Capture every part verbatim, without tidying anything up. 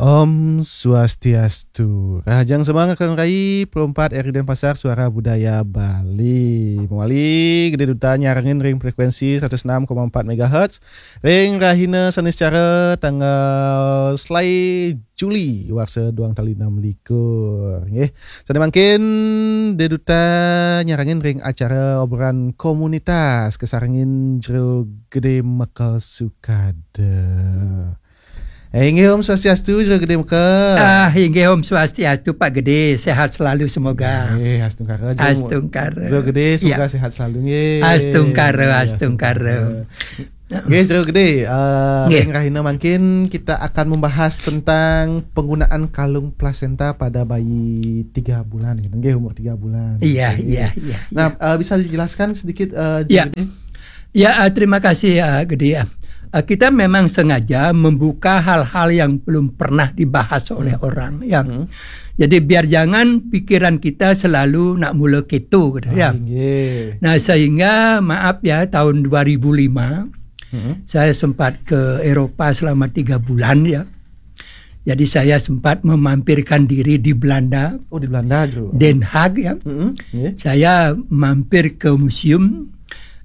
Om Swastiastu. Rahajeng semeng rekan rai, puluh empat R I Denpasar, Suara Budaya Bali. Mawali Gede Duta nyarengin ring frekuensi seratus enam koma empat megahertz ring rahina Seniscara tanggal selae Juli warsa duang tali enam likur. Nggih. Sane mangkin Gede Duta nyarengin ring acara obrolan komunitas kasarengin Jero Gede Mekel Sukada. Eh, inggih, Om Swastiastu, Jero Gede Mekel. Ah, inggih, Om Swastiastu, Pak Gede. Sehat selalu semoga. Eh, astungkara, Jero. Astungkara. Jero Gede, semoga Ya. sehat selalu, nggih. Astungkara, Ya, astungkara. Nggih, Jero Gede, eh, Nggih. ring rahina mangkin kita akan membahas tentang penggunaan kalung plasenta pada bayi tiga bulan, gitu. Nggih, umur tiga bulan. Iya, Nggih. iya, iya. Nah, eh, bisa dijelaskan sedikit, eh, Jero Ya. Gede? Ya, eh, terima kasih, eh, Gede, ya. Eh, kita memang sengaja membuka hal-hal yang belum pernah dibahas oleh orang, ya. Hmm. Jadi biar jangan pikiran kita selalu nak mula keto, gitu, Ah, ya. nggih. Nah, sehingga, maaf ya, tahun dua ribu lima, Hmm. saya sempat ke Eropa selama tiga bulan, ya. Jadi saya sempat memampirkan diri di Belanda, Oh, di Belanda, Jero. Den Haag, ya. Hmm, nggih. Saya mampir ke museum,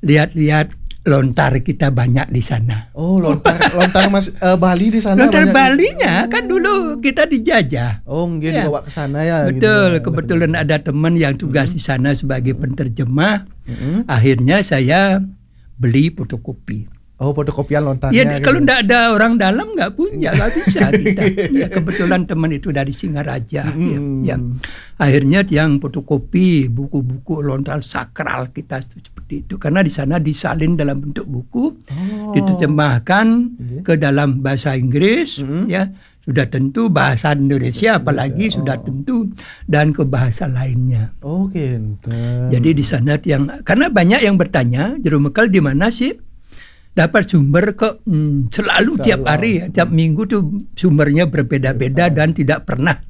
lihat-lihat lontar kita banyak di sana. Oh, lontar, lontar Mas, eh, Bali di sana Lontar banyak. Balinya kan dulu kita dijajah. Oh, nggih, Ya. dibawa ke sana ya, gitu Betul, ya. kebetulan ada teman yang tugas di sana sebagai penerjemah. Hmm. Akhirnya saya beli fotokopi. Oh, fotokopian lontarnya Ya, gitu. kalau ndak ada orang dalam nggak punya, nggak bisa kita. Ya, kebetulan teman itu dari Singaraja. Mm-mm. Ya, ya. Akhirnya tiang fotokopi buku-buku lontar sakral kita itu seperti itu. Karena di sana disalin dalam bentuk buku, Oh. diterjemahkan Iya. ke dalam bahasa Inggris, Mm-mm. ya. Sudah tentu bahasa Indonesia, apalagi Indonesia, sudah oh. tentu, dan ke bahasa lainnya. Oke, enten. Jadi di sana tiang, karena banyak yang bertanya, Jero Mekel di mana sih dapat sumber kok, hmm, selalu Selalu. Tiap hari, ya, tiap minggu tuh sumbernya berbeda-beda dan tidak pernah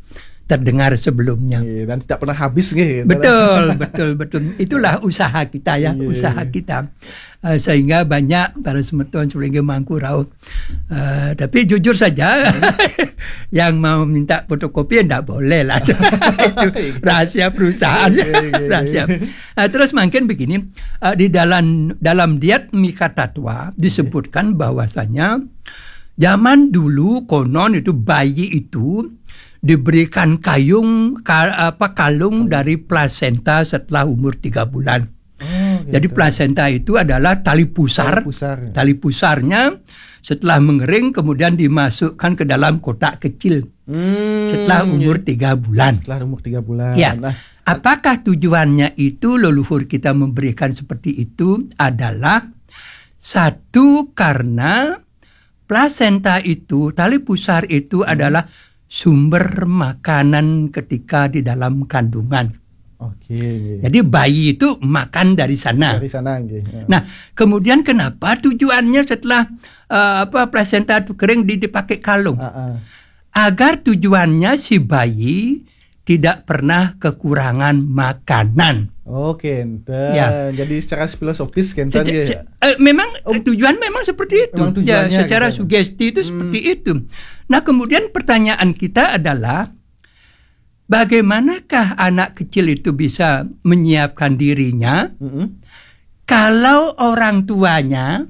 terdengar sebelumnya. Iya, dan tidak pernah habis, nggih. Betul, betul, betul. Itulah usaha kita, ya, Iya. Usaha kita. Eh, sehingga banyak para semeton sulinggi mangku rauh. Eh, tapi jujur saja, yang mau minta fotokopi tidak boleh lah. Itu rahasia perusahaan. Iya, iya, iya. Rahasia. Nah, terus mungkin begini, eh, di dalam dalam Diat Mika Tatwa disebutkan bahwasanya zaman dulu konon itu bayi itu diberikan kayung ka- apa kalung dari plasenta setelah umur tiga bulan. Oh, Jadi gitu. Plasenta itu adalah tali pusar. Tali pusar. Tali pusarnya setelah mengering kemudian dimasukkan ke dalam kotak kecil Hmm, setelah umur tiga bulan. Setelah umur tiga bulan. Ya. Nah, Apakah tujuannya itu leluhur kita memberikan seperti itu adalah satu karena plasenta itu, tali pusar itu adalah sumber makanan ketika di dalam kandungan. Oke. Jadi bayi itu makan dari sana. Dari sana, nggih. Ya. Nah, kemudian kenapa tujuannya setelah eh, apa plasenta itu kering di, dipakai kalung? Ah, ah. Agar tujuannya si bayi tidak pernah kekurangan makanan. Oke, enten. Ya. Jadi secara filosofis, enten, Seca- ya. se- eh, memang Oh, tujuan memang seperti itu. memang Ya, tujuannya secara gitu. Sugesti itu Hmm. Seperti itu. Nah, kemudian pertanyaan kita adalah bagaimanakah anak kecil itu bisa menyiapkan dirinya Mm-mm. kalau orang tuanya,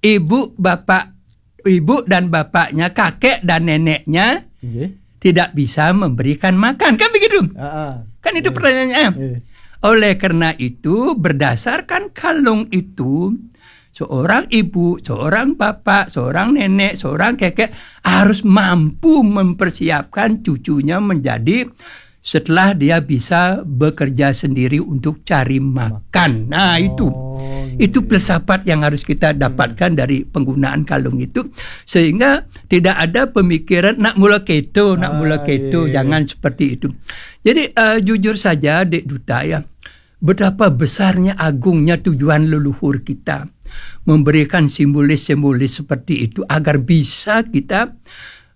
ibu, bapak, ibu dan bapaknya, kakek dan neneknya Nggih. tidak bisa memberikan makan, kan begitu? Ah, ah. Kan itu Iya. Pertanyaannya. Iya. Oleh karena itu, berdasarkan kalung itu, seorang ibu, seorang bapak, seorang nenek, seorang kakek harus mampu mempersiapkan cucunya menjadi setelah dia bisa bekerja sendiri untuk cari makan. Nah, itu. Oh, Itu iya. Filsafat yang harus kita dapatkan dari penggunaan kalung itu, sehingga tidak ada pemikiran nak mula keto, nak Ah, mula keto, iya. Jangan seperti itu. Jadi eh, jujur saja, Dek Duta, ya, betapa besarnya agungnya tujuan leluhur kita memberikan simbolis-simbolis seperti itu agar bisa kita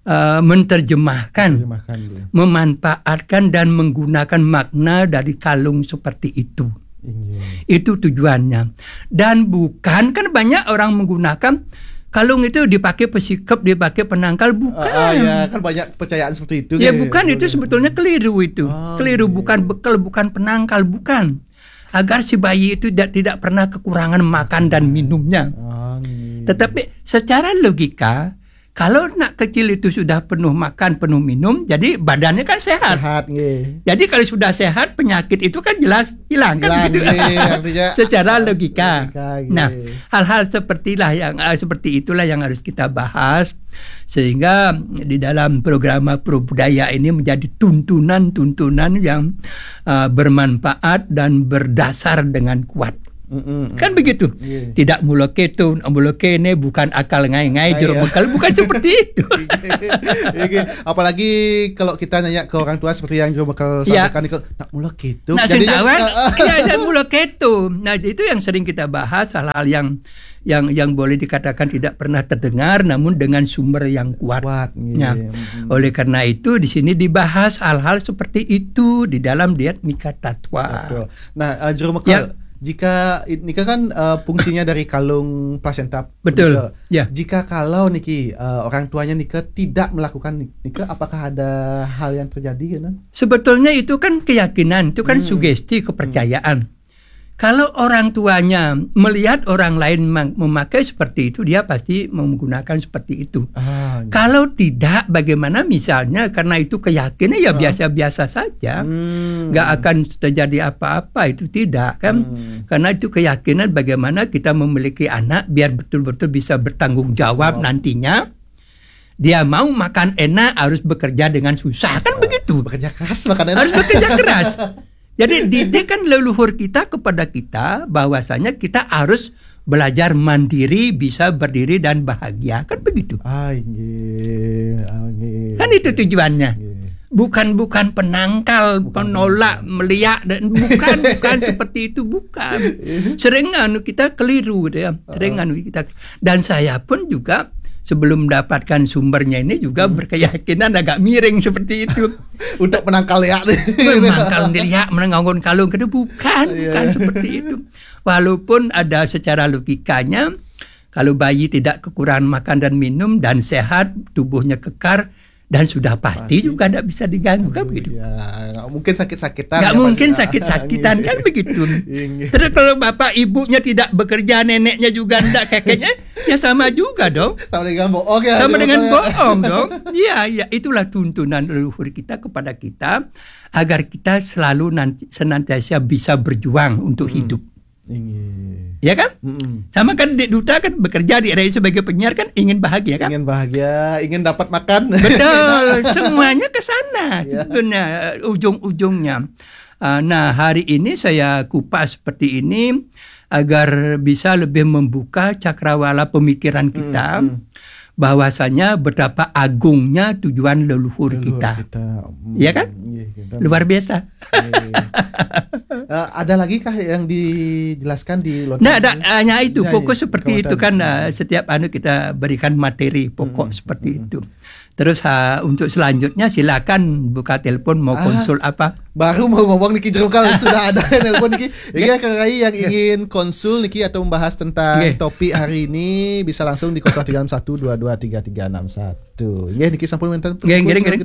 eh, menerjemahkan, Terjemahkan, ya. memanfaatkan dan menggunakan makna dari kalung seperti itu. Iya. Itu tujuannya. Dan bukan, kan banyak orang menggunakan Kalung itu dipakai pesikep, dipakai penangkal, bukan. Ah, ah, ya, kan banyak percayaan seperti itu, ya, kan? Bukan, itu sebetulnya keliru itu. Ah, keliru, iya. Bukan bekal, bukan penangkal, bukan. Agar si bayi itu tidak, tidak pernah kekurangan makan dan minumnya. Ah, iya. Tetapi secara logika, kalau anak kecil itu sudah penuh makan, penuh minum, jadi badannya kan sehat. Sehat, nggih. Jadi kalau sudah sehat, penyakit itu kan jelas hilang, kan begitu? Hilang, nggih, artinya secara logika. Logika, nggih. Nah, hal-hal sepertilah yang, eh, seperti itulah yang harus kita bahas, sehingga di dalam programa Pro Budaya ini menjadi tuntunan-tuntunan yang, eh, bermanfaat dan berdasar dengan kuat. Mm-mm. Kan begitu. Iya. Tidak mula keto, mula kene, bukan akal ngai-ngai, ah, jero iya. Bekal, bukan seperti itu. Iya. Apalagi kalau kita nanya ke orang tua seperti yang jero bekal, iya, sampaikan, kalau nak mula keto. Nah, jadinya, sing tahu, ah, ah. Iya, dan mula keto. Nah, itu yang sering kita bahas, hal-hal yang, yang, yang boleh dikatakan tidak pernah terdengar, namun dengan sumber yang kuat. Kuat, iya. Nah, mm-mm. Oleh karena itu, di sini dibahas hal-hal seperti itu di dalam Diatmika Tatwa. Betul. Nah, eh, jero bekal, ya. Jika i-, nika kan, eh, fungsinya dari kalung plasenta. Betul. Nika. Ya. Jika kalau niki, eh, orang tuanya nika tidak melakukan ni-, nika, apakah ada hal yang terjadi, kan? Sebetulnya itu kan keyakinan, itu kan, hmm, sugesti, hmm, kepercayaan. Kalau orang tuanya melihat orang lain mang-, memakai seperti itu, dia pasti menggunakan seperti itu. Ah, iya. Kalau tidak, bagaimana misalnya, karena itu keyakinan, ya, ah, biasa-biasa saja, hmm, nggak akan terjadi apa-apa, itu tidak, kan? Hmm. Karena itu keyakinan bagaimana kita memiliki anak biar betul-betul bisa bertanggung jawab, jawab, nantinya. Dia mau makan enak, harus bekerja dengan susah, kan begitu? Bekerja keras, makan enak. Harus bekerja keras. Jadi, didikan leluhur kita kepada kita bahwasanya kita harus belajar mandiri, bisa berdiri dan bahagia, kan begitu? Ah, nggih, ah, nggih. Kan itu tujuannya. Nggih. Bukan, bukan penangkal, bukan penolak, penangkal, meliak, dan bukan, bukan seperti itu, bukan. Iya. Sering anu kita keliru gitu ya. Sering, heeh, anu kita. Dan saya pun juga sebelum mendapatkan sumbernya ini juga, hmm, berkeyakinan agak miring seperti itu. Untuk penangkal ya. Menangkal dilihat, menanggung kalung itu bukan, iya, bukan seperti itu. Walaupun ada secara logikanya, kalau bayi tidak kekurangan makan dan minum dan sehat, tubuhnya kekar, dan sudah pasti, pasti juga tidak bisa diganggu, kan begitu? Ya, nggak mungkin sakit-sakitan. Nggak mungkin sakit-sakitan, kan begitu? Iya, nggih. Terus kalau bapak ibunya tidak bekerja, neneknya juga tidak, kekeknya, ya sama juga dong. Sama dengan bohong, ya. Sama dengan bohong dong. Iya, iya, itulah tuntunan leluhur kita kepada kita, agar kita selalu nanti, senantiasa bisa berjuang untuk, hmm, hidup. Iya. Ya kan? Mm-mm. Sama kan Dik Duta kan bekerja di R R I sebagai penyiar, kan ingin bahagia, kan? Ingin bahagia, ingin dapat makan. Betul, semuanya ke sana, iya, sebetulnya, eh, ujung-ujungnya. Ah, nah, hari ini saya kupas seperti ini agar bisa lebih membuka cakrawala pemikiran kita, mm-mm, bahwasanya betapa agungnya tujuan leluhur, leluhur kita, kita. Mm, iya kan? Iya, kita. Luar biasa. Iya. Eh, ada lagi kah yang dijelaskan di lontar? Nggak ada, ini? Hanya itu, hanya fokus itu, seperti itu kan, eh, setiap anu kita berikan materi pokok, mm-mm, seperti, mm-mm, itu. Terus, ha, untuk selanjutnya silakan buka telepon, mau, ah, konsul apa? Baru mau ngomong niki, jero bekal, sudah ada yang nelpon niki. Nggih, ya, Kang Rai yang, ya, ingin konsul niki atau membahas tentang, nggih, topik hari ini bisa langsung di kosong tiga enam satu dua dua tiga tiga enam satu. Nggih, niki sampun wénten. Nggih, ngiring, ngiring.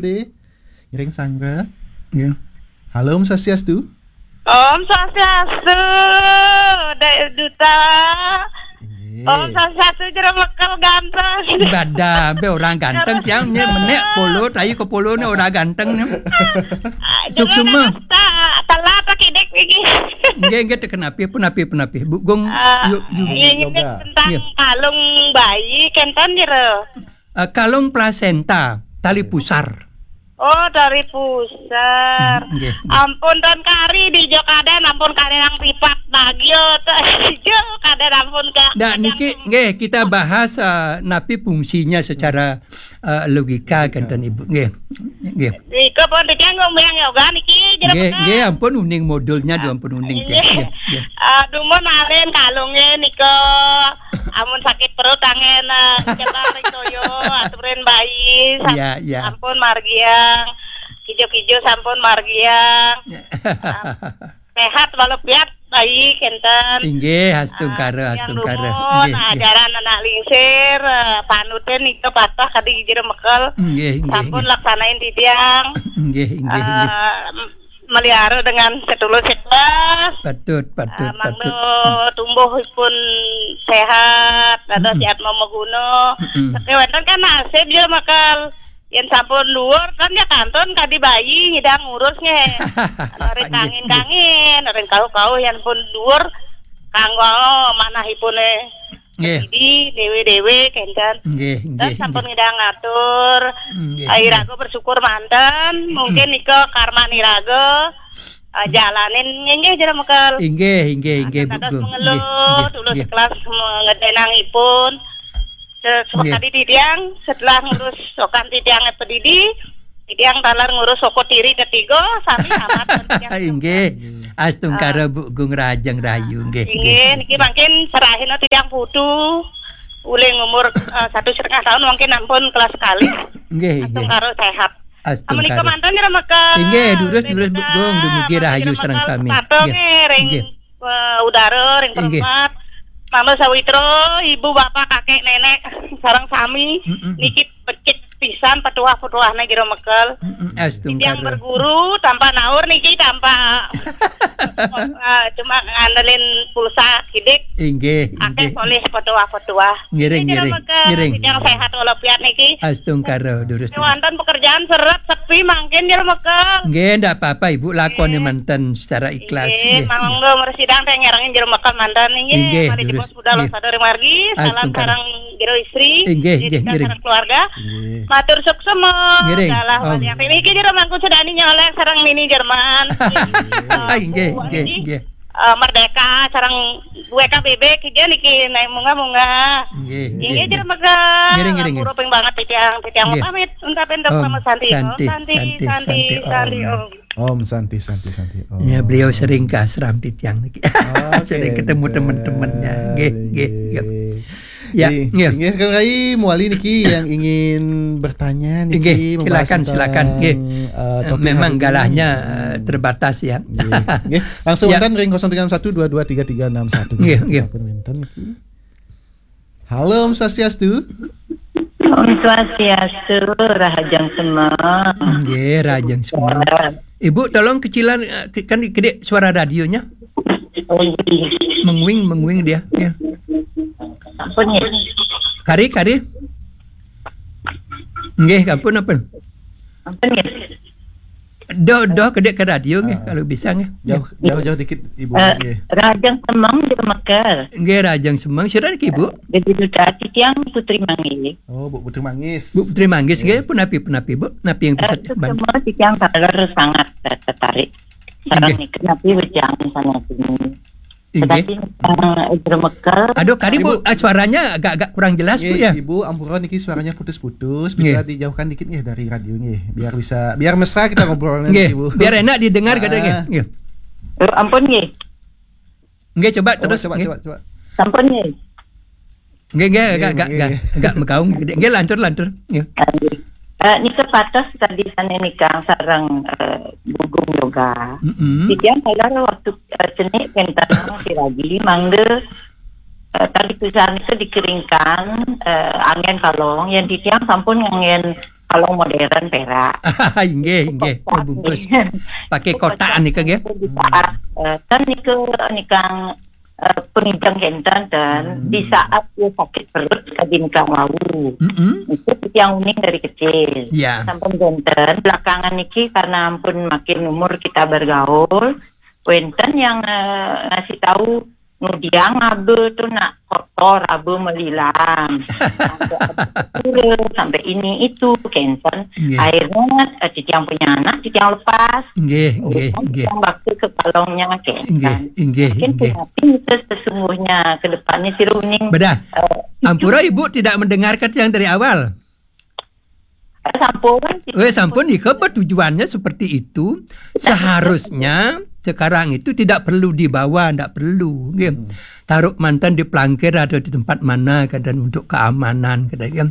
Ngiring sangga. Nggih. Halo, Om Swastiastu. Om Swastiastu, Dek Duta. Inggih. Om Swastiastu, jero bekal ganteng. Badan, be orang ganteng, jero tiang, nih, bekal. Menek polo, tai ke polo, nih orang ganteng, nih. Ah, jero suksma. Nang ta-, telat lagi, Dek, iki. Nggih, nggih, teken api, pun api, pun api. Bu Gung, ah, yuk, yuk. Ini yoga. Tentang, iya, kalung bayi, kenten, jero. Eh, kalung plasenta, tali pusar. Oh, tali pusar. Hmm, nggih, nggih. Ampun, Tuan Kari, di Jokaden, ampun, Kari nang tipak, nah, gio, tuh, jo, kaden, ampun, Kak. Nah, niki, nggih, kita bahas, eh, napi fungsinya secara, eh, logika, logika, kenten Ibu. Nggih, nggih. Niki pun dikenggung biang yoga, niki, jero bekal. Nggih, nggih, ampun, uning modulnya, ah, ampun, uning, nggih, nggih, nggih. Ah, dumun alen kalungnya, nika. Amun sakit perut, angin, eh, cetar, toyo, aturin bayi, sam-, iya, iya, ampun, margiang, kijo-kijo, sampun, margiang. Iya. Ah, sehat walafiat, baik, enten. Inggih, astungkara, ah, astungkara. Nuhun, nggih, nggih. Ajaran anak lingsir, eh, panuten nika patah kadi jero mekel. Nggih, nggih, sampun nggih. Laksanain titiang. Nggih, nggih, nggih. Eh, melihara dengan sedulur sekelas. Patut, patut, eh, mangda patut. Tumbuhipun sehat, dados, mm-mm, sehat mamaguna. Mm-mm. Sakéwanten kan nasib jero mekel. Yén sampun dhuwur kan ya kantun kadi bayi nyidang ngurus nggih. Anu ring, nggih, kangin-kangin, ring kauh-kauh yén pun dhuwur kanggo manahipune. Nggih. Jadi déwé-déwé kénten. Nggih, nggih, sampun nggih. Nyidang ngatur. Nggih, nggih. Iraga bersyukur manten, mungkin, mm-mm, nika karman iraga, eh, jalanin nggih jero mekel. Inggih, inggih, nah, inggih, dados Bu Gung. Mengelo, nggih, nggih, dulur, nggih, sekelas ngedénangipun. Se-, nggih. Tadi titiang setelah ngurus sokan titiang pedidi, titiang taler ngurus soko tiri ketiga, sami tamat. Inggih. Astungkara, ah, Bu Gung, rahajeng rahayu, nggih, inggih, nggih. Niki mangkin serahin titiang putu. Uling umur, eh, satu setengah tahun mungkin ampun kelas kali. Nggih, nggih. Astungkara sehat. Astungkara. Menika manten jero mekel. Inggih, durus, durus, Bu Gung, dumugi rahayu sareng sami. Nggih. Nggih. Eh, udara ring, inggih, perempat. Mama sawitra, ibu bapak kakek nenek sareng sami, mm-mm, niki becik pisan petuah-petuahna jero mekel. Mm-mm, astungkara. Titiang berguru tanpa naur niki, tanpa, eh, cuma ngandelin pulsa sidik. Inggih, akeh, inggih, solih petuah-petuah. Ngiring, niki jero, ngiring, mekel, ngiring. Titiang sehat walafiat niki. Astungkara, durus. Wonten pekerjaan seret sepi mangkin jero mekel. Nggih, ndak apa-apa, Ibu, lakoni, nggih, manten secara ikhlas, nggih, nggih. Mangga mresidang teh nyarengin jero mekel manten nggih. Inggih, mari durus. Dipos budal, nggih. Sadari margi, salam, astungkara, sareng jero istri, inggih, nggih, ngiring. Sareng keluarga. Nggih. Matur suksma. Ngiring. Dalah, om. Waliang niki jero mangku sedani nyolek sareng nini Jerman. Inggih, nggih, nggih. Eh, Merdeka sareng W K B B, kija niki naik munggah-munggah. Nggih, nggih, nggih, nggih. Jero mekel. Ngiring, ngiring, ngiring. Ping banget titiang, titiang, nggih, pamit, ungkapin dok, om, nama Santi. Santi, Santi, Santi, Santi, Santi, om. Om. Om Santi, Santi, Santi, om. Ya, beliau sering ke ashram titiang niki. Oke, sering ketemu teman-temannya. Nggih, nggih, nggih. Ya, nggih. Nggih, kan Rai, muali niki yang ingin bertanya niki, nggih, membahas silakan, tentang, silakan. Nggih. Eh, topik memang hari ini. Galahnya, eh, terbatas ya. Nggih. Nggih, langsung, ya, enten ring kosong tiga enam satu dua dua tiga tiga enam satu. Nggih, nggih. Sampun wenten niki. Halo, Om Swastiastu. Om Swastiastu, rahajeng semeng. Nggih, rahajeng semeng. Ibu, tolong kecilan, eh, ke-, kan gede suara radionya. Oh, iya. Menguing, menguing dia. Ya. Ampun, ya. Kari, kari. Nggih, ampun, ampun. Ampun, ya. Doh, doh, kedek ke radio nggih, ah, kalau bisa nggih. Jauh, jauh, jauh dikit, Ibu, eh, nggih. Rahajeng semeng jero mekel. Nggih, rahajeng semeng. Sira niki, Bu? Jadi duta titiang Putri Manggis. Oh, Bu Putri Manggis. Bu Putri Manggis, nggih, nggih. Punapi, punapi, Bu? Napi yang bisa, eh, dibantu? Semua titiang taler sangat, eh, tertarik. Sareng, nggih, nika napi wejangan sanésipun. Inggih. Tetapi, eh, jero mekel. Aduh, kari, Bu, Ibu, ah, suaranya agak-agak kurang jelas, Bu, nggih, ya. Ibu, ampura niki suaranya putus-putus, bisa, nggih, dijauhkan dikit nggih dari radio nggih, biar bisa, biar mesra kita ngobrolnya, nggih, nggih, Bu. Biar enak didengar, ah, katanya nggih. Nggih. Oh, ampun nggih. Nggih, coba, coba, terus, coba, nggih. Coba, coba. Sampun nggih. Nggih, nggih, nggih, agak, agak, nggih, agak, nggih, agak megaung. Nggih, lantur, lantur. Nggih. Ah, nggih. Eh, nika pateh tadi sané nikang sareng, eh, Bu Gung Yoga. Mm-mm. Titiang taler waktu, eh, cenik kénten siragi mangga, eh, tali pisan itu dikeringkan, eh, anggén kalong, yén titiang sampun nganggén kalong modern perak. Inggih, inggih. Kotak, bungkus. Nggih. Pakai kotak nika nggih. Di saat, eh, kan nika nikang eh, pengijang kénten, ten, hmm, di saat dia sakit perut, kadi nikang wau. Mm-mm. Itu titiang uning dari kecil. Ya. Sampun kénten, belakangan niki karena ampun makin umur kita bergaul, wénten yang, eh, ngasih tahu ngudiang aba tuh nak kotor, aba melilang. Sampai aba pura, sampai ini itu, kénten. Nggih. Akhirnya, eh, titiang punya anak, titiang lepas. Nggih, nggih, nggih. Titiang bakti ke kalongnya, kénten. Nggih, nggih, nggih. Mungkin punapi itu sesungguhnya ke depannya si Runing. Bedah. Eh, ampura, Ibu tidak mendengarkan yang dari awal. Eh, sampun. Weh, sampun, nika apa tujuannya seperti itu? Seharusnya sekarang itu tidak perlu dibawa, tidak perlu, nggih. Hmm. Taruh manten di pelangkir atau di tempat mana, kadang untuk keamanan, kadang, ya.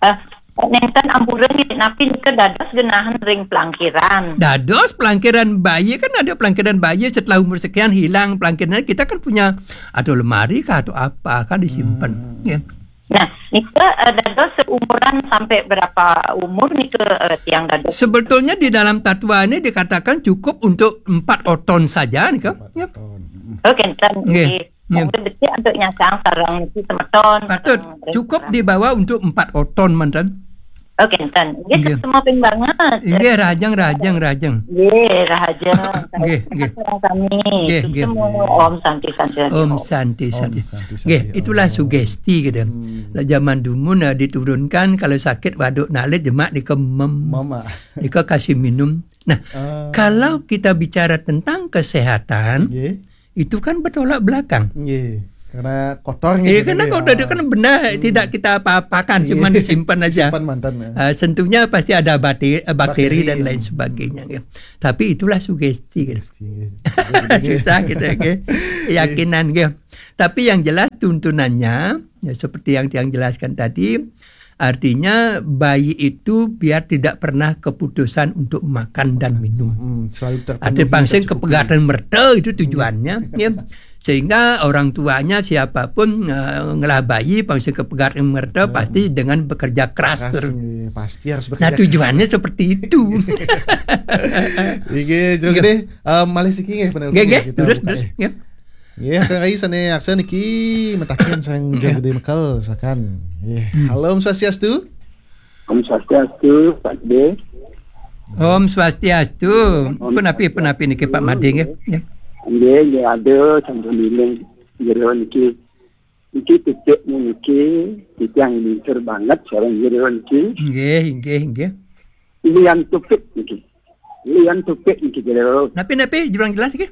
Eh, Nénten ampura nggih, napi nika dados genahan ring plangkiran? Dados plangkiran bayi, kan ada plangkiran bayi setelah umur sekian hilang plangkirannya, kita kan punya atau lemari kah atau apa kan disimpan. Hmm. Ya. Nah, nika, eh, dados seumuran sampai berapa umur nika, eh, tiang dados? Sebetulnya di dalam tatwa ini dikatakan cukup untuk empat oton saja nika. Empat oton. Mm-mm. Oh, kénten. Nggih. Nggih. Nggih. Mangda becik untuk nyasang sareng niki semeton, patut sareng cukup sareng dibawa untuk empat oton manten. Oh, kénten. Nggih, nggih. Semua ping banget. Nggih, rahajeng, rahajeng, rahajeng. Nggih, rahajeng. Nggih, nggih. Sareng sami. Nggih, nggih. Semua Om Santi, Santi, Santi, Om Om. Santi, Santi. Om Santi, Santi, nggih, itulah Om. Sugesti gitu. Hmm. Lah zaman dumun, eh, diturunkan kalau sakit waduk nalit jemak nika mem-, mama. Nika kasih minum. Nah, ah, kalau kita bicara tentang kesehatan, nggih. Itu kan bertolak belakang. Nggih. Karena kotor nggih. Iya, karena kotor itu kan benda tidak kita apa-apakan, cuman disimpan aja. Simpan manten, ya. Ah, sentuhnya pasti ada bate-, eh, bakteri dan lain sebagainya, ya. Tapi itulah sugesti, gitu. Sugesti, nggih. Susah gitu, ya, nggih. Nggih. Keyakinan, nggih. Tapi yang jelas tuntunannya, ya, seperti yang, yang jelaskan tadi, artinya bayi itu biar tidak pernah keputusan untuk makan dan minum. Hmm, selalu terpenuhi, tercukupi. Artinya pang sing kepegatan merta itu tujuannya, ya. Sehingga orang tuanya siapapun, eh, ngelah bayi, pang sing kepegatan merta, hmm, pasti dengan bekerja keras. Keras, ter- iya, pasti harus bekerja keras. Nah, tujuannya seperti itu. Nggih, Jero Gedé, eh, malih siki nggih, penelpon nggih, nggih, kita terus, buka, terus, ya. Nggih. Nggih, Kang Rai sané arsa niki mataken sang Jero Gedé Mekel, silakan. Nggih. Hmm. Halo, Om Swastiastu. Om Swastiastu, Pak Gedé. Om Swastiastu. Om Punapi, Swastiastu. Punapi niki, Pak Madé, nggih. Ya. Nggih, nggih, aduh, sampun iling Jero niki. Niki titik niki, titik yang lintur banget sareng Jero niki. Nggih, nggih, nggih. Lian tupit niki. Lian tupit niki, Jero. Napi, napi, jurang jelas niki?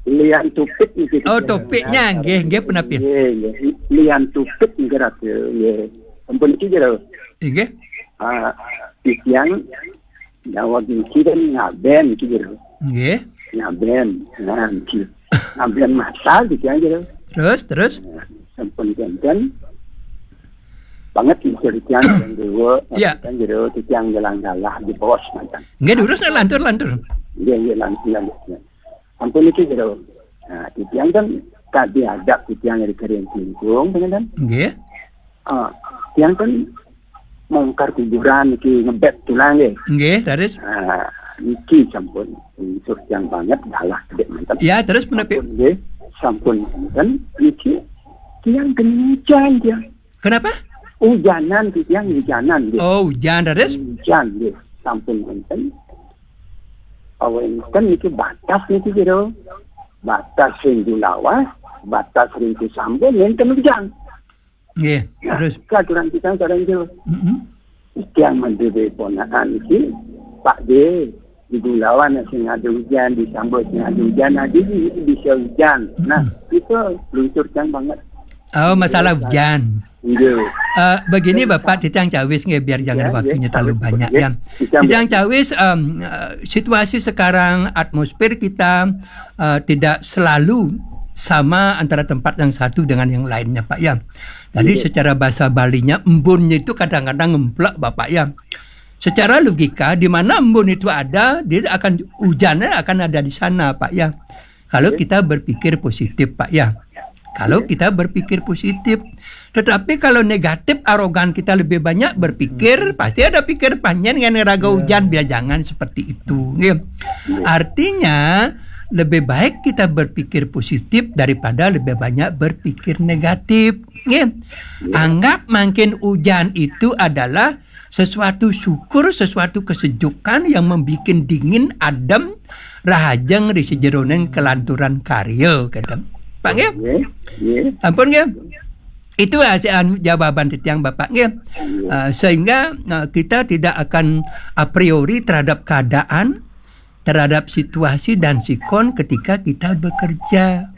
Lian tupit niki. Oh, tupitnya, nggih, nggih, punapi? Nggih, nggih. Lian tupit niki, Ratu, nggih. Ampun niki, Jero. Nggih. Ah, titiang Jawa niki kan ngaben niki, Jero. Nggih. Ngaben, nah, niki. Ngaben masal niki, Jero. Terus, terus? Nah, sampun kénten. Banget niki, Jero, yang dua, ya. Kan, Jero, titiang jalan galah di bos manten. Nggih, durus, nah, lantur, lantur. Nggih, nggih, lantur, lantur. Ampun niki, Jero. Nah, titiang kan tadi ada titiang dari Kering Tingkung, kan? Nggih. Ah, tiang kan mongkar kuburan niki, ngebet tulang nggih. Nggih, raris. Ah, niki sampun unsur tiang banget galah kedék manten. Ya, terus punapi? Sampun nggih, sampun manten niki tiang kencang tiang. Kenapa? Ujanan niki tiang, ujanan nggih. Oh, ujan, raris? Ujan nggih, sampun manten. Awénten niki batas niki, Jero. Batas ring Julawas, batas ring Cisambur, nénten ujan. Nggih, nah, terus? Katuran kita sareng Jero. Mm-mm. Tiang madué ponakan iki, Pak Dé, di Julawan sing ada ujan, di Sambur sing ada ujan, nah, jadi bisa ujan. Nah, mm-mm, itu luntur tiang banget. Oh, masalah ujan. Nggih. Eh, begini, Bapak, titiang cawis nggih, biar jangan, ya, waktunya, ya, terlalu banyak, ya. Titiang cawis, em, eh, situasi sekarang, atmosfer kita, eh, tidak selalu sama antara tempat yang satu dengan yang lainnya, Pak, ya. Jadi, iya, secara bahasa Balinya, embunnya itu kadang-kadang ngemplek, Bapak, ya. Secara logika, di mana embun itu ada, dia akan, hujannya akan ada di sana, Pak, ya. Kalau, iya, kita berpikir positif, Pak, ya. Kalau, iya, kita berpikir positif. Tetapi kalau negatif, arogan kita lebih banyak berpikir, hmm, pasti ada pikir panjang dengan raga, iya, hujan, biar jangan seperti itu. Nggih. Iya. Artinya, lebih baik kita berpikir positif daripada lebih banyak berpikir negatif. Nggih. Iya. Anggap mangkin hujan itu adalah sesuatu syukur, sesuatu kesejukan yang membuat dingin, adem, rahajeng ring sajeroning kelanturan karya, kénten. Pak, nggih? Nggih, nggih. Ampun, nggih. Itu hasil, anu, jawaban titiang, Bapak, nggih. Nggih. Eh, sehingga, eh, kita tidak akan a priori terhadap keadaan, terhadap situasi dan sikon ketika kita bekerja.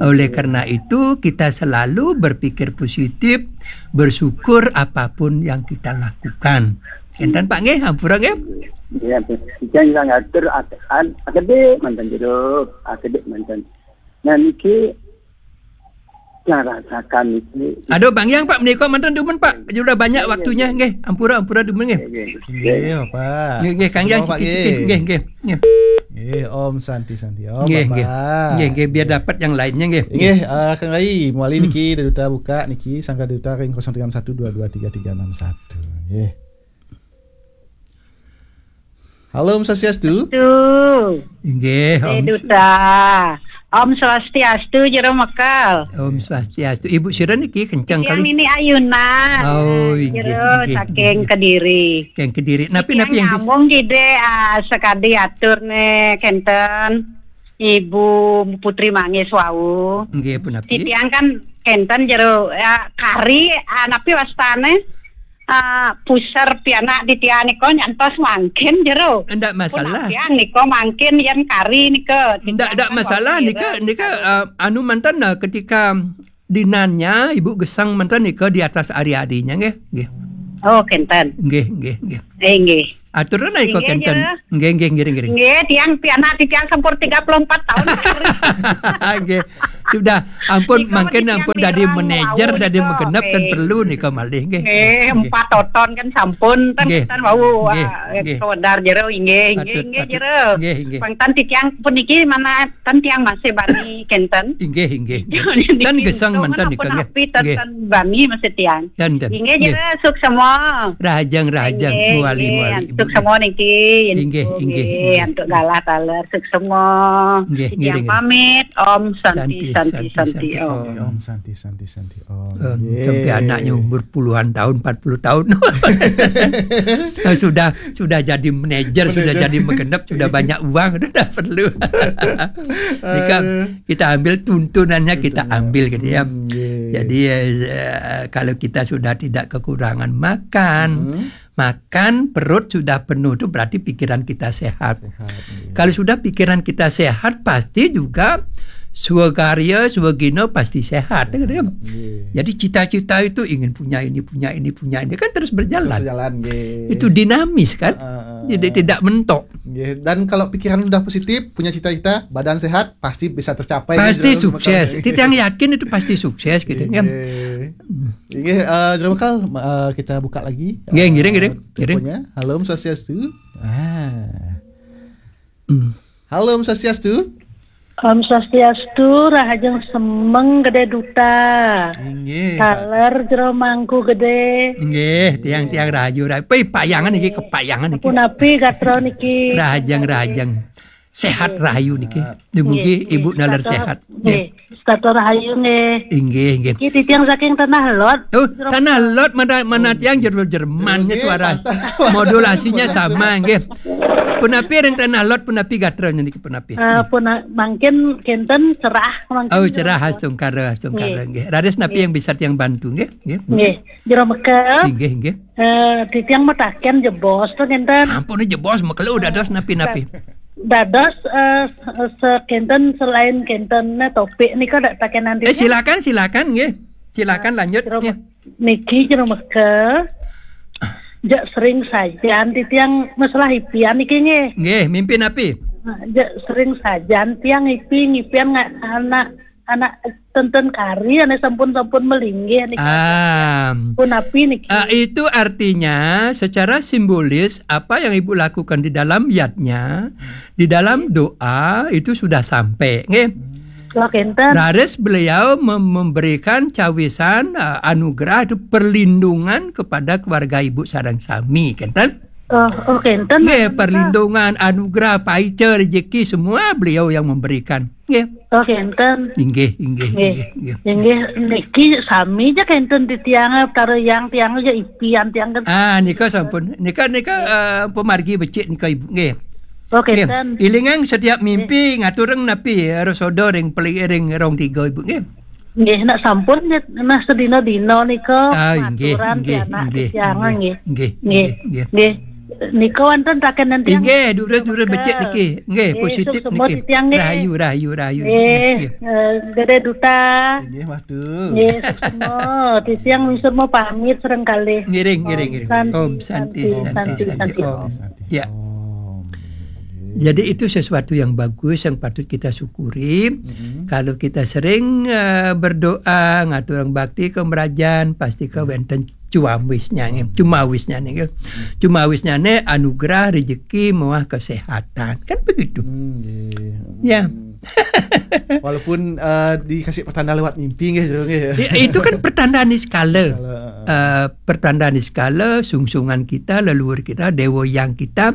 Oleh karena itu, kita selalu berpikir positif, bersyukur apapun yang kita lakukan. Enten, Pak, nggih, ampura, nggih. Ya, jangan ngatur at-, an-, akedék manten, Jero, akedék manten. Nah, niki Narasakan itu. Aduh, Bang Yang, Pak, menika manten dumun, Pak. Sudah banyak waktunya, nggih. Ampura, ampura dumun, nggih. Nggih, Bapak. Nggih, nggih, Kang Yang, siki-siki. Nggih, nggih, nggih. Nggih, Om Santi, Santi, Om, nggih, Bapak. Nggih, nggih, biar dapat yang lainnya, nggih. Nggih, eh, Kang Rai, mawali niki, Duta buka niki, sangka Duta ring kosong tiga enam satu dua dua tiga tiga enam satu. Nggih. Halo, Om Swastiastu. Tuh. Nggih, Om. Duta. Om Swastiastu, Jero Mekal. Om Swastiastu. Ibu sira niki kenceng kali. Ini Ayunan. Oh, nggih, Jero nggih, saking nggih. Kediri. Saking Kediri. Napi, napi yang nyambung gide, ah, sekadi atur ne kenten Ibu Putri Mangis wau. Nggih, punapi? Titiang kan kenten jero, ya, kari, ah, napi wastane? Ah, puser pianak titiang nika nyantos mangkin jero. Ndak masalah. Pun apian nika mangkin yen kari nika. Ndak, ndak masalah nika, nika, eh, anu manten, eh, ketika dinannya Ibu gesang manten nika di atas ari-arinya nggih, nggih. Oh, kenten. Nggih, nggih, nggih. Eh, nggih. Aturna nika kenten. Nggih, nggih, ngiring, ngiring. Nggih, tiang pianak titiang sampun tiga puluh empat tahun. Nggih. Sudah, ampun, mangkin ampun dadi manajer, dadi magenep kan perlu nika malih nggih. Nggih, empat toton kan sampun ten wau, nggih, ah, nggih. Kawedar jero inggih, inggih, patut, inggih, patut. Jero. Nggih, nggih. Pang ten titiang puniki mana ten tiang masih bani kenten. Inggih, inggih. Niki ten gesang menten nika nggih. Nggih. Ten bani masih tiang. Ten, ten. Inggih, nggih. Jero suksma. Rahajeng, rahajeng, nggih, muali, nggih, muali, Ibu. Suksma niki. Inggih, inggih, nggih, inggih. Antuk galah taler suksma. Nggih, ngiring, ngiring. Pamit, Om Santi, Santi, Santi, Santi, Santi, Santi, Om. Om. Om Santi, Santi, Santi, Om. Om, nggih. Sampai anaknya umur puluhan tahun, empat puluh tahun. Sudah, sudah jadi manajer, sudah jadi magenep, sudah banyak uang, sudah perlu. Ini kan kita ambil tuntunannya, kita ambil gitu ya. Hmm, nggih. Jadi, eh, kalau kita sudah tidak kekurangan makan, makan, perut sudah penuh, itu berarti pikiran kita sehat. Sehat, iya. Kalau sudah pikiran kita sehat, pasti juga swakarya, swagina pasti sehat, gitu ya. Iya. Jadi cita-cita itu ingin punya ini, punya ini, punya ini, kan terus berjalan. Terus berjalan, nggih. Itu dinamis, kan? Heeh. Jadi tidak mentok. Nggih. Dan kalau pikiran udah positif, punya cita-cita, badan sehat, pasti bisa tercapai, nggih. Pasti sukses. Titiang yakin itu pasti sukses, gitu ya. Nggih. Nggih, eh, Jero Mekal, eh, kita buka lagi, nggih, ngiring, eh, ngiring, ngiring. Teleponnya. Halo, Om Swastiastu. Ah. Hmm. Halo, Om Swastiastu. Om Swastiastu, rahajeng semeng Gede Duta. Inggih. Taler jero mangku gede. Inggih, tiang-tiang rahayu, rahayu. Pi, payangan niki, kepayangan niki. Punapi gatra niki? Rahajeng, rahajeng. Sehat rahayu niki. Sehat. Dugi Ibu naler sehat. Nggih. Nggih. Setata rahayu nggih. Inggih, inggih. Iki titiang saking Tanah Lot. Oh, Tanah Lot, mana, mana tiang jero Jerman nggih, suara. Modulasinya sama nggih. Punapi ring Tanah Lot, punapi gatra niki punapi? Eh, puna-, mangkin kenten cerah mangkin. Oh, cerah, astungkara, astungkara nggih. Nggih. Raris napi yang bisa tiang bantu nggih? Nggih. Nggih. Jero Mekal. Inggih, inggih. Eh, titiang mataken jebos to kenten. Ampun, jebos, mekelu dados napi-napi. Dados, eh, se-, kenten selain kenten topik nika dak takenan. Eh, titiang. Silakan, silakan nggih. Silakan lanjut nggih. Niki Jero Mekal. Jak sering sajan titiang masalah ipian niki nggih. Nggih, mimpi napi? Jak sering sajan tiang ipi ngipian nga-, anak anak tenten kari, anak sampun-sampun melinggih niki. Ah. Punapi niki? Ah, itu artinya secara simbolis apa yang Ibu lakukan di dalam yadnya, di dalam doa itu sudah sampai, nggih. Wah, kenten. Raris beliau mem-, memberikan cawisan, ah, anugerah itu perlindungan kepada keluarga Ibu sareng sami, kenten? Oh, oh, kenten. Nggih, perlindungan, anugerah, paica, rezeki, semua beliau yang memberikan. Nggih. Oh, kenten. Inggih, inggih, nggih, inggih, inggih. Inggih, niki sami ja kenten titiang, karo yang tiang ja ipian tiang kan. Ah, nika sampun. Nika, nika, eh, pemargi becik nika, Ibu. Nggih. Oh, nggih. Kenten. Ilingang setiap mimpi ngaturang napi, eh, rosodo ring peli-, ring rong tiga, Ibu. Nggih. Nggih, nak sampun, nggih, nah sedina-dina nika. Ah, inggih, maturan inggih, pianak inggih, titiang, inggih, nggih. Inggih, nggih, inggih, inggih. Nggih. Nika wonten takenan tiang. Inggih, durus, durus becik niki. Nggih, positif suksma niki. Titiang, nggih. Rahayu, rahayu, rahayu. Nggih, nggih. Eh, Gede Duta. Inggih, Madu. Nggih, suksma. Titiang suksma pamit sareng kalih. Ngiring, ngiring, ngiring. Om Santi, Santi, Santi, Santi, Santi, Santi, Om. Om. Ya. Om. Nggih. Jadi itu sesuatu yang bagus yang patut kita syukuri. Mm-hmm. Kalau kita sering uh, berdoa, ngaturang bakti ke merajan, pasti ke wenten cumawisnya, nggih. Cumawisnya nih, nggih. Cumawisnya nih anugerah, rezeki, muah kesehatan. Kan begitu. Hmm, nggih. Ya. Walaupun uh, dikasih pertanda lewat mimpi, nggih, Jero, nggih. Ya, itu kan pertanda niskala. Niskala, uh, pertanda niskala, sungsungan kita, leluhur kita, dewa yang kita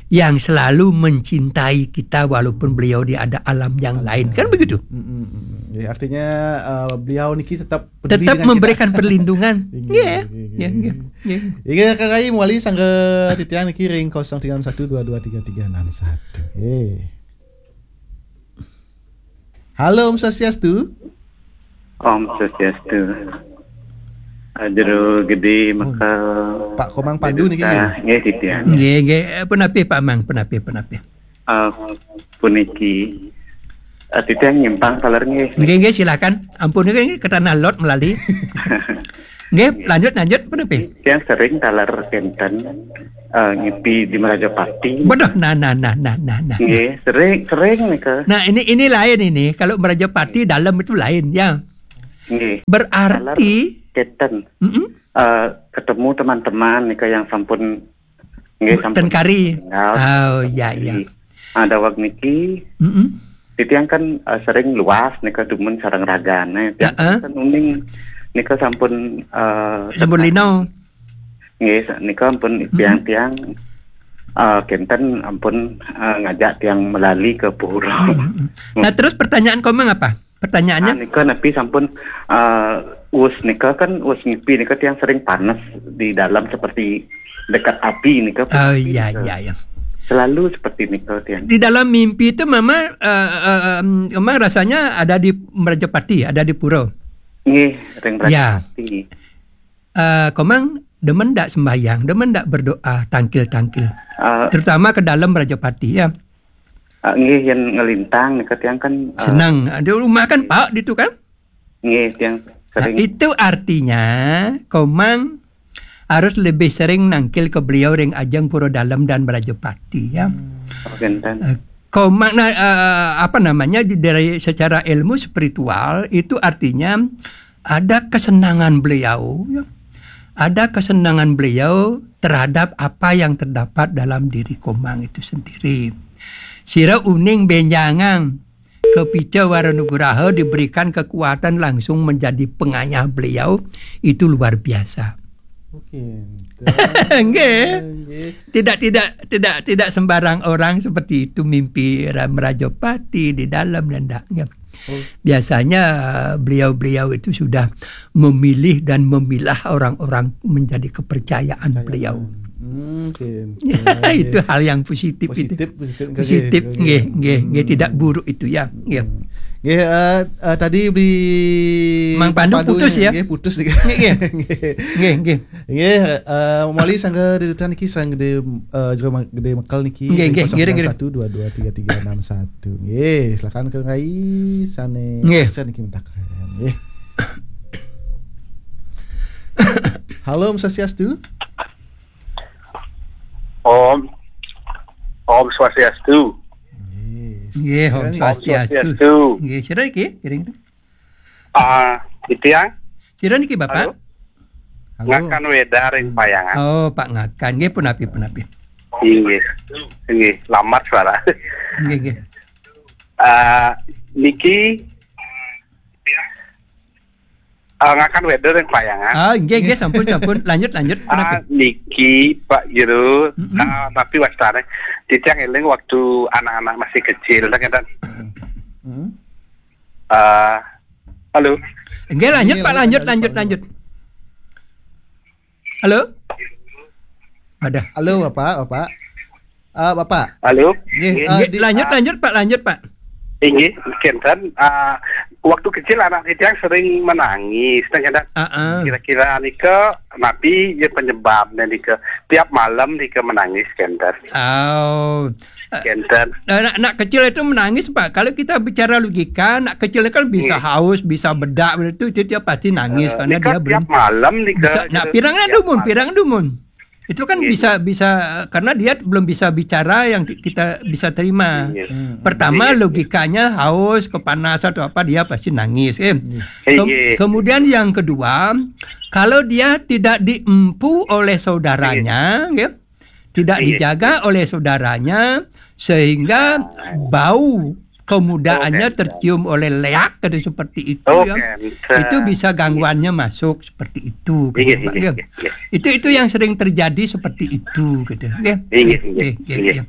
yang selalu mencintai kita walaupun beliau di ada alam yang lain. Kan begitu? Mm-mm. Ya, artinya uh, beliau niki tetap peduli tetap dengan memberikan kita. Perlindungan. Nggih, nggih, nggih, nggih. Nggih, Kang Rai, mawali sangga titiang niki ring kosong tiga enam satu dua dua tiga tiga enam satu. Eh. Halo, Om Swastiastu. Om Swastiastu. Jero Gede Mekal. Pak Komang Pandu niki, nggih? Nggih, titiang. Nggih, nggih. Eh, punapi, Pak Mang, punapi, punapi. Uh, puniki. Uh, titiang nyimpang taler, nggih. Nggih, nggih, silakan. Ampun, nggih, nggih, ke tanah lot melali. Nggih, lanjut, lanjut, punapi? Titiang sering taler kenten uh, ngipi di Merajapati. Bodoh, nah, nah, nah, nah, nah, nah. Nggih, sering, sering nika. Nah, ini, ini lain ini. Kalau Merajapati dalam itu lain, ya. Nggih. Berarti taler kenten. Mm-mm. Uh, ketemu teman-teman nika yang sampun, nggih, sampun meninggal. Oh, ya, ya. Ada wak niki. Mm-mm. Titiang kan uh, sering luas nika dumun sareng ragane. Tiang kan uning nika sampun uh, sampun lino. Nggih, nika ampun tiang-tiang uh, kenten ampun uh, ngajak tiang melali ke pura. Hmm. Nah, terus pertanyaan Komang apa? Pertanyaannya? Nah, nika napi sampun uh, us nika kan us ngipi nika tiang sering panas di dalam seperti dekat api nika. Oh, iya, iya, iya. Selalu seperti nika tiang. Di dalam mimpi itu mama uh, uh, um, mama rasanya ada di Merajapati, ada di pura. Nggih, ring Merajapati. Ya. Uh, Komang demen ndak sembahyang, demen ndak berdoa tangkil-tangkil. Uh, terutama ke dalam Merajapati, ya. Uh, nggih, yang ngelintang nika tiang kan uh, senang. Di rumah kan Pak di itu kan? Nggih, tiang sering. Nah, itu artinya Komang harus lebih sering nangkil ke beliau ring ajeng Pura Dalem dan Merajapati, ya. Oh, kenten. Uh, Komang, nah, uh, apa namanya, dari secara ilmu spiritual itu artinya ada kesenangan beliau, ya. Ada kesenangan beliau terhadap apa yang terdapat dalam diri Komang itu sendiri. Sira uning benjangan kepica wara nugraha diberikan kekuatan langsung menjadi pengayah beliau, itu luar biasa. Oke. Nggih. Tidak, tidak, tidak, tidak sembarang orang seperti itu mimpi Merajapati di dalam dan ndak. Biasanya beliau-beliau itu sudah memilih dan memilah orang-orang menjadi kepercayaan beliau. Hmm, oke. Itu hal yang positif itu. Positif, positif, nggih, nggih, nggih, tidak buruk itu, ya. Nggih. Nggih, uh, uh, tadi beli Mang Pandu putus, ya? Nggih, putus nih. Nggih, nggih. Nggih, nggih. Nggih, uh, mawali sangga dedutan niki sangga Gede uh, Jero Gede Mekal niki. Nggih, nggih, nggih, nggih. Satu dua dua tiga tiga enam satu. Nggih, silakan Kang Rai sane. Nggih. Sane niki mentakan. Nggih. Halo, Om Swastiastu. Om Om Swastiastu. Nggih, Om Swastiastu. Nggih, sira iki, kiring. Ah, titiang. Sira niki, Bapak? Halo? Ngakan Wedar ring Payangan. Oh, Pak Ngakan. Nggih, punapi, punapi. Inggih. Inggih, lambat suara. Nggih, nggih. Ah, niki ah, Ngakan Wedar ring Payangan. Ah, nggih, nggih, sampun, sampun. Lanjut, lanjut. Ah, niki Pak Jero, ah, tapi wastane titiang eling waktu anak-anak masih kecil, nah, kenten. Hmm. Ah, halo. Nggih, lanjut, Pak, lanjut, lanjut, lanjut. Halo? Ada. Halo, Bapak, Bapak. Ah, Bapak. Halo. Nggih, nggih, ah, lanjut, lanjut, Pak, lanjut, Pak. Inggih, kenten, ah, waktu kecil anak titiang sering menangis, nah, kenten. Kira-kira nika napi ya penyebabnya nika tiap malam nika menangis, kenten. Oh. Kenten. Nah, anak, anak kecil itu menangis, Pak. Kalau kita bicara logika, anak kecil kan bisa haus, bisa bedak, itu, itu dia pasti nangis karena dia belum tiap malam nika. Nah, pirang dumun, pirang dumun. Itu kan Iya, bisa, iya. bisa, karena dia belum bisa bicara yang ki-, kita bisa terima. Iya. Hmm. Pertama, Iya, iya. logikanya haus, kepanasan atau apa, dia pasti nangis, eh. Iya. Ke-, Iya. kemudian yang kedua, kalau dia tidak diempu oleh saudaranya, Iya. ya, tidak Iya. dijaga oleh saudaranya, sehingga bau kemudaannya Oke. tercium oleh leak, gitu, seperti itu, Oke, ya. bisa. Itu bisa gangguannya masuk seperti itu, gitu, Iya, Pak, iya, ya. iya, iya. Itu, itu yang sering terjadi seperti itu, gitu, ya. Iya, iya, Iya, iya, iya, iya. iya.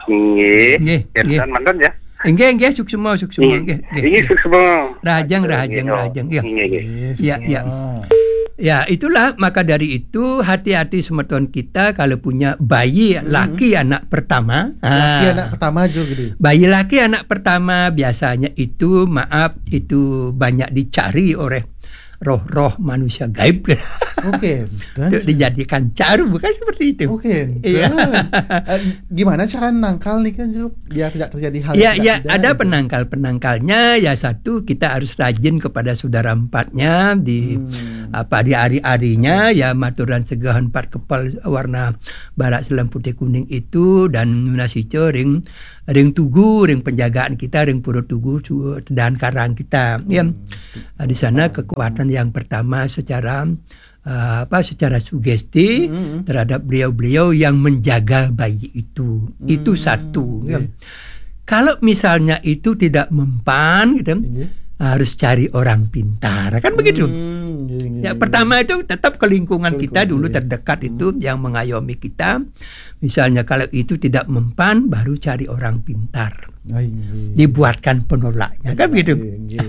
Nggih. Nggih, Kersan nggih. mantun, ya. Nggih, nggih, suksma, suksma, Nggih. nggih, nggih, Nggih, nggih. suksma. Rahajeng, Aduh, rahajeng, nggih, rahajeng, nggih. nggih, nggih. Iya, Iya, iya. suksma. Ya, itulah, maka dari itu, hati-hati semeton kita kalau punya bayi Hmm. laki anak pertama. Laki Ah. anak pertama, Jo, gede. Bayi laki anak pertama biasanya itu, maaf, itu banyak dicari oleh roh-roh manusia gaib. Oke, dan Untuk dijadikan caru, bukan seperti itu. Oke, Iya. dan, eh, gimana cara nangkal nih kan, Jo, biar tidak terjadi hal Iya, yang tidak iya, pidana ada gitu? penangkal-penangkalnya. Ya, satu, kita harus rajin kepada saudara empatnya di, Hmm. apa, di ari-arinya, ya, maturan segahon empat kepal warna barak selem putih kuning itu, dan nunas ica ring, ring tugu, ring penjagaan kita, ring pura tugu, su-, dan karang kita, ya. Hmm. Di sana kekuatan yang pertama secara, eh, apa, secara sugesti Hmm, hmm. terhadap beliau-beliau yang menjaga bayi itu. Itu Hmm, satu, ya. oke. Kalau misalnya itu tidak mempan, gitu, Iya. harus cari orang pintar. Kan begitu? Hmm, iya, iya, Ya, iya. pertama itu tetap ke lingkungan Ke kita lingkungan, dulu iya. terdekat itu Hmm. yang mengayomi kita. Misalnya kalau itu tidak mempan, baru cari orang pintar. Ah, iya. Dibuatkan penolaknya, kan begitu? Iya, iya.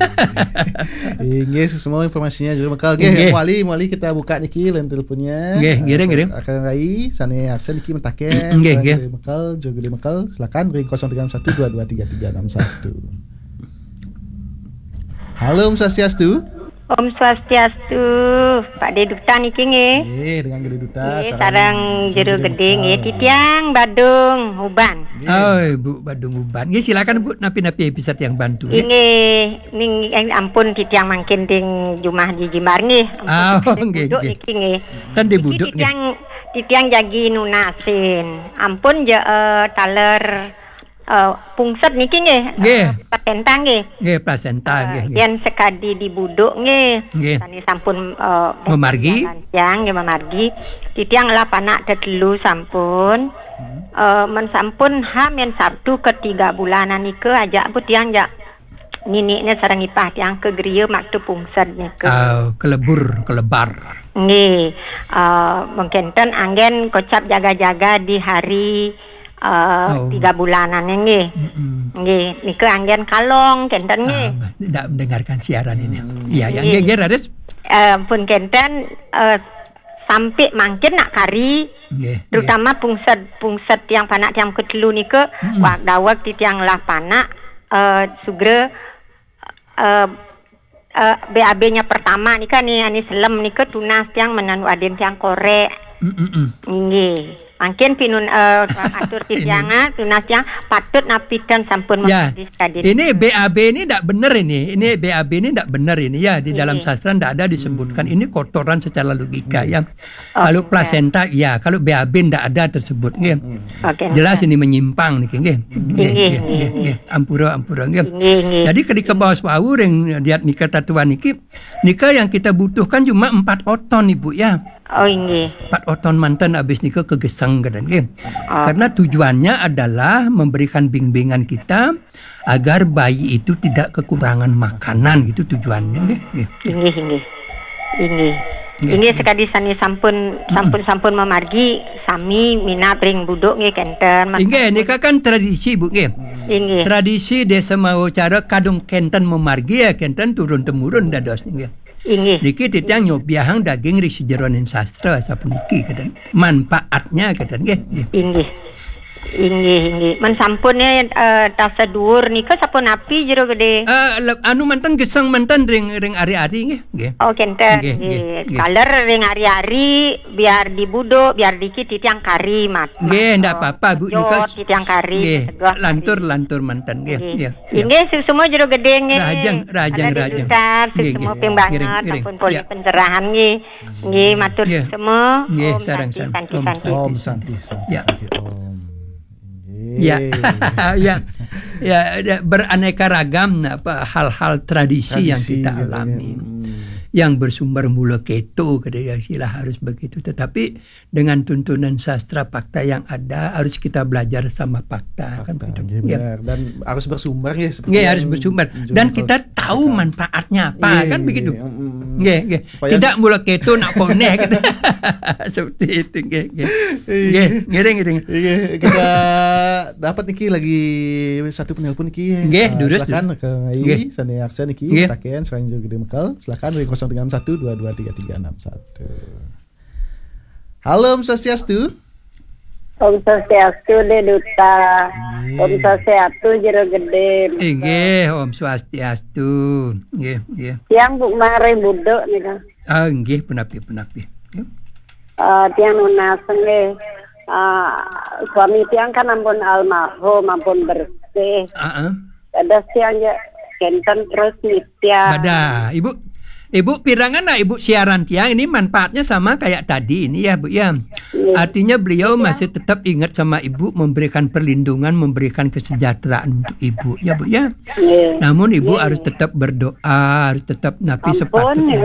Inggih, semua informasinya juga bekal. Nggih, Nggih. Wali, Wali kita buka niki line teleponnya. Nggih, ngiring, ngiring. Akan Rai, sane Arsen niki mentaken. Nggih, Selain nggih. dari bekal, juga di bekal, silakan ring kosong tiga enam satu dua dua tiga tiga enam satu. Halo, Om Swastiastu. Om Swastiastu, Pak De Duta niki nggih. Nggih, dengan Gede Duta, Nggih, sareng sareng Jero Jero Gede nggih, Duta. Titiang Badung Uban. Nggih. Oh, Ibu Badung Uban. Nggih, silakan, Bu, napi-napi bisa tiang bantu, nggih. Inggih, ning, eh, ampun titiang mangkin ding jumah di jimbar nggih. Ampun, Oh, titiang nggih, buduk nggih. niki nggih. Kan di Niki buduk, nggih. titiang, titiang jagi nunasin. Ampun je, eh, taler, eh, pungsed niki nggih, Nggih. eh, plasenta nggih. Nggih, plasenta, Eh, nggih, nggih. yen sekadi di buduk nggih. Nggih. Sane sampun, eh, Memargi? Tiang nggih memargi. Titiang lah panak tetelu sampun. Hmm. Eh, men sampun hamin Sabtu ketiga bulanan nika ajak bu tiang jak ninikne sareng ipah tiang ke griya maktu pungsed nika. Ah, kelebur, kelebar. Nggih. Eh, mengkenten anggen kocap jaga-jaga di hari, eh, Oh. tiga bulanan nggih. Mm-mm. Nggih, nika anggen kalong kenten nggih. Ah, tidak mendengarkan siaran ini. Hmm. Iya, ya, Nggih. nggih, nggih, raris. Eh, pun kenten, eh, sampai mangkin nak kari, Nggih, terutama nggih. pungsed, pungsed tiang panak tiang ketelu nika, Mm-mm. wak dawek titiang lah panak, eh, sugra, eh, eh, B A B-nya pertama nika ni, ani selem nika tunas tiang menanu adin tiang korek. Mm-mm. Nggih. Mangkin pinun, eh, atur Ini. titiang, ah, tunas tiang patut napitan sampun Ya. mengkadis kadin. Ini B A B ini ndak bener ini. Ini B A B ini ndak bener ini ya. Di dalam Nggih. sastra ndak ada disebutkan. Hmm. Ini kotoran secara logika Nggih. ya. Oke, Kalau nggih. plasenta ya, kalau B A B ndak ada tersebut nggih. Hmm. Oke, Jelas nggih. ini menyimpang niki nggih. Nggih, Nggih, nggih, nggih, nggih, nggih. nggih. Ampura, ampura nggih. Nggih, nggih. Jadi ketika baos wau ring diat nika tatuan niki, nika yang kita butuhkan cuma empat oton Ibu ya. Oh, nggih. Empat oton manten habis nika kegeseng keten nggih. Oh. Karena tujuannya adalah memberikan bimbingan kita agar bayi itu tidak kekurangan makanan gitu tujuannya nggih. Nggih. Inggih, inggih. Inggih. Nggih. Inggih sekadi sani sampun, Mm-mm. sampun, sampun mamargi sami minab ring buduk nggih kenten. Mas Inggih, sampun. nika kan tradisi Bu nggih. Inggih. Tradisi desa mawa cara kadung kenten mamargi ya kenten turun temurun dados nggih. Inggih. Niki titiang nyobiahang daging ri sajeroning sastra sapuniki keten. Manfaatnya keten nggih. Nggih. Inggih. Inggih, inggih. Men sampun, eh, tasa duur nika sapunapi Jero Gede? Eh, le-, anu manten geseng manten ring, ring ari-ari nggih, nggih. Oh, kenten. Nggih, nggih, nggih, nggih. Taler ring ari-ari, biar di budo, biar dikit titiang kari mat. Nggih, ndak apa-apa, Bu. Jot, nika titiang kari, nggih, tegeh lantur, kari. Lantur manten nggih. Nggih. Nggih. Nggih, suksma Jero Gede nggih. Rahajeng, rahajeng, rahajeng. Nggih, suksma nggih. Ping banget, ngiring, ngiring. Sampun polih pencerahan nggih. Nggih, matur suksma. Nggih, sareng-sareng. Om Santi, Santi, Santi. Om Santi, Santi, Santi. Ya. Santi, Om. Nggih. Ya. Ya. Ya, ya, beraneka ragam apa hal-hal tradisi yang kita alami. Tradisi, gitu, ya. Hmm. Yang bersumber mula keto, gitu ya, istilah harus begitu. Tetapi dengan tuntunan sastra fakta yang ada, harus kita belajar sama fakta, kan begitu. Fakta, nggih, benar. Dan harus bersumber, nggih, seperti yang Jero Gede. Nggih, harus bersumber. Dan kita tahu manfaatnya apa, kan begitu. Nggih, nggih. Nggih, nggih. Supaya tidak mula keto nak poneh, gitu. Seperti itu, nggih, nggih. Iya. Nggih, ngiring, ngiring. Iya, kita dapat niki lagi satu penelpon niki. Nggih, eh, durus, silakan durus. Ke nggih. Sane aksen niki, nggih. Taken, selain Jero Gede Mekal. Silakan dari kosong tiga enam satu dua dua tiga tiga enam satu. Halo, Om Swastiastu. Om Swastiastu, Dek Duta. Nggih. Om Swastiastu, Jero Gede. Inggih, Om Swastiastu. Nggih, nggih. Tiang Bu Mare Buduk nika. Ah, nggih, punapi, punapi. Nggih. Eh, tiang nunas nggih. Eh, suami tiang kan ampun almarhum, ampun bersih. Heeh. Dados tiang ya kenten terus nitya. Badah, Ibu. Ibu, pirengang Ibu siaran tiang ini manfaatnya sama kayak tadi ini ya, Bu, ya. Iya. Artinya beliau masih tetap ingat sama Ibu, memberikan perlindungan, memberikan kesejahteraan untuk Ibu, ya, Bu, ya. Iya. Namun Ibu harus tetap berdoa, harus tetap napi sepatutnya.